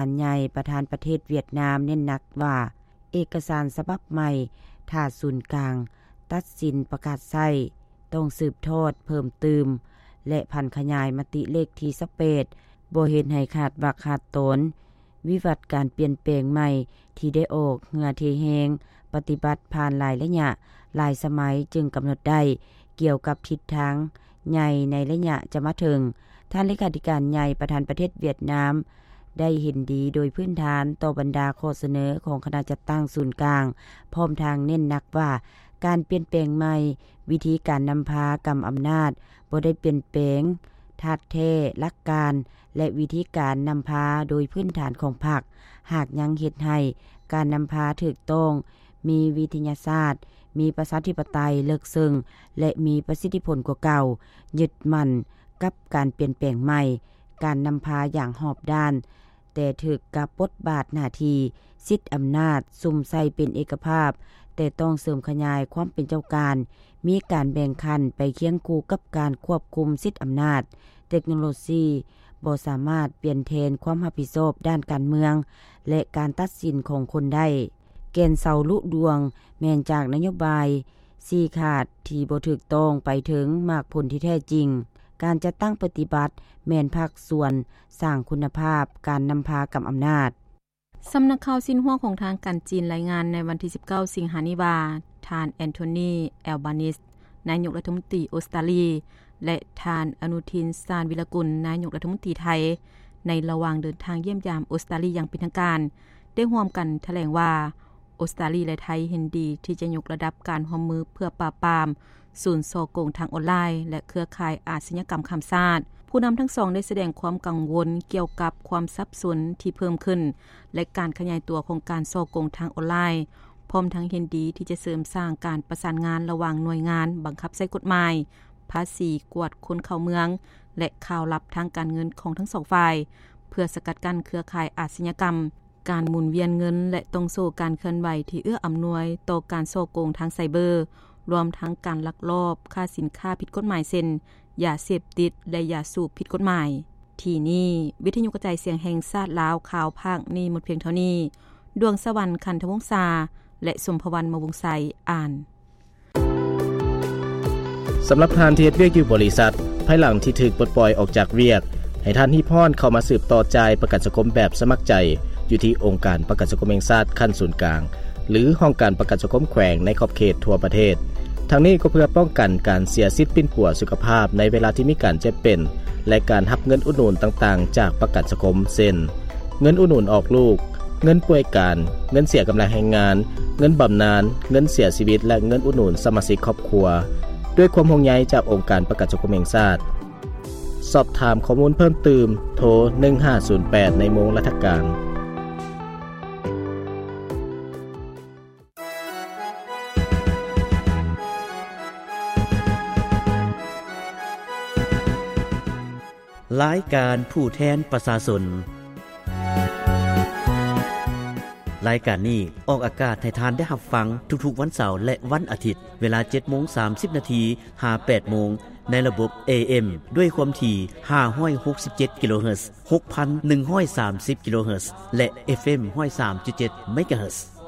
ການໃຫຍ່ປະທານປະເທດຫວຽດນາມເນັ້ນໜັກວ່າ ເອກະສານສະບັບໃໝ່ ຖ້າສູນກາງຕັດສິນປະກາດໃຊ້ ຕ້ອງສືບທອດເພີ່ມຕື່ມ ແລະ ຜັນຂະຫຍາຍມະຕິເລກທີຊາວແປດ ບໍ່ເຮັດໃຫ້ຂາດວັກຂາດຕອນ ວິວັດການປ່ຽນແປງໃໝ່ທີ່ໄດ້ອອກເຫື່ອເທແຮງ ປະຕິບັດຜ່ານຫຼາຍໄລຍະ, ຫຼາຍສະໄໝ ຈຶ່ງກຳນົດໄດ້ກ່ຽວກັບທິດທາງໃຫຍ່ໃນໄລຍະຈະມາເຖິງ. ທ່ານເລຂາທິການໃຫຍ່ປະທານປະເທດຫວຽດນາມ ໄດ້ເຫັນດີໂດຍພື້ນຖານຕໍ່ບັນດາຂໍ້ສະເໜີຂອງຄະນະຈັດຕັ້ງສູນກາງ, ພ້ອມທັງເນັ້ນໜັກວ່າ ການປ່ຽນແປງໃໝ່ ວິທີການນຳພາກຳອຳນາດ ບໍ່ໄດ້ປ່ຽນແປງທາດແທ້, ຫຼັກການ ແລະ ວິທີການນຳພາໂດຍພື້ນຖານຂອງພັກ ຫາກຍັງເຮັດໃຫ້ການນຳພາຖືກຕ້ອງ, ມີວິທະຍາສາດ, ມີປະຊາທິປະໄຕເລິກເຊິ່ງ ແລະ ມີປະສິດທິຜົນກວ່າເກົ່າ, ຍຶດໝັ້ນກັບການປ່ຽນແປງໃໝ່, ການນຳພາຢ່າງຮອບດ້ານ, ແຕ່ຖືກກັບບົດບາດໜ້າທີ່, ສິດອຳນາດ, ສຸມໃສ່ເປັນເອກະພາບ, ແຕ່ຕ້ອງເສີມຂະຫຍາຍຄວາມເປັນເຈົ້າການ, ມີການແບ່ງຂັ້ນໄປຄຽງຄູ່ກັບການຄວບຄຸມສິດອຳນາດ, ເຕັກໂນໂລຊີບໍ່ສາມາດປ່ຽນແທນຄວາມຮັບຜິດຊອບດ້ານການເມືອງ ແລະ ການຕັດສິນຂອງຄົນໄດ້. ແກ່ນເສົາລຸດວງແມ່ນຈາກນະໂຍບາຍຊີ້ຂາດທີ່ບໍ່ຖືກຕ້ອງໄປເຖິງໝາກຜົນທີ່ແທ້ຈິງ. ການຈັດຕັ້ງປະຕິບັດແມ່ນພາກສ່ວນສ້າງຄຸນນະພາບການນຳພາກຳອຳນາດ. ສຳນັກຂ່າວຊິນຫົວຂອງທາງການຈີນລາຍງານໃນວັນທີສິບເກົ້າ ສິງຫານີ້ວ່າ ທ່ານ ແອນໂທນີ ແອລບານິສ ນາຍົກລັດຖະມົນຕີອົດສະຕາລີ ແລະ ທ່ານ ອະນຸທິນ ຊານວິລະກຸນ ນາຍົກລັດຖະມົນຕີໄທ ໃນລະຫວ່າງເດີນທາງຢ້ຽມຢາມອົດສະຕາລີຢ່າງເປັນທາງການ ໄດ້ຮ່ວມກັນຖະແຫຼງວ່າ ອົດສະຕາລີ ແລະ ໄທເຫັນດີທີ່ຈະຍົກລະດັບການຮ່ວມມືເພື່ອປາບປາມສູນສໍ້ໂກງທາງອອນລາຍ ແລະ ເຄືອຂ່າຍອາຊະຍາກຳຂ້າມຊາດ. ຜູ້ນຳທັງສອງໄດ້ສະແດງຄວາມກັງວົນກ່ຽວກັບຄວາມສັບສົນທີ່ເພີ່ມຂຶ້ນ ແລະ ການຂະຫຍາຍຕົວຂອງການສໍ້ໂກງທາງອອນລາຍ, ພ້ອມທັງເຫັນດີທີ່ຈະເສີມສ້າງການປະສານງານລະຫວ່າງໜ່ວຍງານບັງຄັບໃຊ້ກົດໝາຍ, ພາສີ, ກວດຄົນເຂົ້າເມືອງ ແລະ ຂ່າວລັບທາງການເງິນຂອງທັງສອງຝ່າຍ ເພື່ອສະກັດກັ້ນເຄືອຂ່າຍອາຊະຍາກຳ, ການໝູນວຽນເງິນ ແລະ ຕ່ອງໂສ້ການເຄື່ອນໄຫວທີ່ເອື້ອອຳນວຍຕໍ່ການສໍ້ໂກງທາງໄຊເບີ, ລວມທັງການລັກລອບຄ້າສິນຄ້າຜິດກົດໝາຍ ເຊັ່ນ ຢາເສບຕິດ ແລະ ຢາສູບຜິດກົດໝາຍ. ທີ່ນີ້ ວິທະຍຸກະຈາຍສຽງແຫ່ງຊາດລາວ ຂ່າວພາກນີ້ໝົດພຽງເທົ່ານີ້. ດວງສະຫວັນ ຄັນທະວົງສາ ແລະ ສົມພະວັນ ມະວົງໄຊ ອ່ານ. ສຳລັບທ່ານທີ່ເຮັດວຽກຢູ່ບໍລິສັດ, ພາຍຫຼັງທີ່ຖືກປົດປ່ອຍອອກຈາກວຽກ, ໃຫ້ທ່ານຮີບຮ້ອນເຂົ້າມາສືບຕໍ່ຈ່າຍປະກັນສັງຄົມແບບສະໝັກໃຈ ຢູ່ທີ່ອົງການປະກັນສັງຄົມແຫ່ງຊາດຂັ້ນສູນກາງ ຫຼື ຫ້ອງການປະກັນສັງຄົມແຂວງໃນຂອບເຂດທົ່ວປະເທດ. ທັງນີ້ກໍເພື່ອປ້ອງກັນການເສຍສິດປິ່ນປົວສຸຂະພາບໃນເວລາທີ່ມີການເຈັບເປັນ ແລະ ການຮັບເງິນອຸດໜູນຕ່າງໆຈາກປະກັນສັງຄົມ ເຊັ່ນ ເງິນອຸດໜູນອອກລູກ, ເງິນປ່ວຍການ, ເງິນເສຍກຳລັງແຮງງານ, ເງິນບຳນານ, ເງິນເສຍຊີວິດ ແລະ ເງິນອຸດໜູນສະມາຊິກຄອບຄົວ. ດ້ວຍຄວາມຫ່ວງໃຍຈາກອົງການປະກັນສັງຄົມແຫ່ງຊາດ. ສອບຖາມຂໍ້ມູນເພີ່ມຕື່ມ, ໂທ ໜຶ່ງຫ້າສູນແປດ ໃນໂມງລັດຖະການ. ລາຍການຜູ້ແທນປະຊາຊົນ. ລາຍການນີ້ອອກອາກາດໃຫ້ທ່ານໄດ້ຮັບຟັງທຸກໆວັນເສົາ ແລະ ວັນອາທິດ, ເວລາເຈັດໂມງສາມສິບນາທີ ຫາແປດໂມງ ໃນລະບົບ ເອເອັມ ດ້ວຍຄວາມຖີ່ ຫ້າຮ້ອຍຫົກສິບເຈັດ ກິໂລເຮີດ, ຫົກພັນໜຶ່ງຮ້ອຍສາມສິບ ກິໂລເຮີດ ແລະ ເອັຟເອັມ ຮ້ອຍສາມຈຸດເຈັດ ເມກາເຮີດ.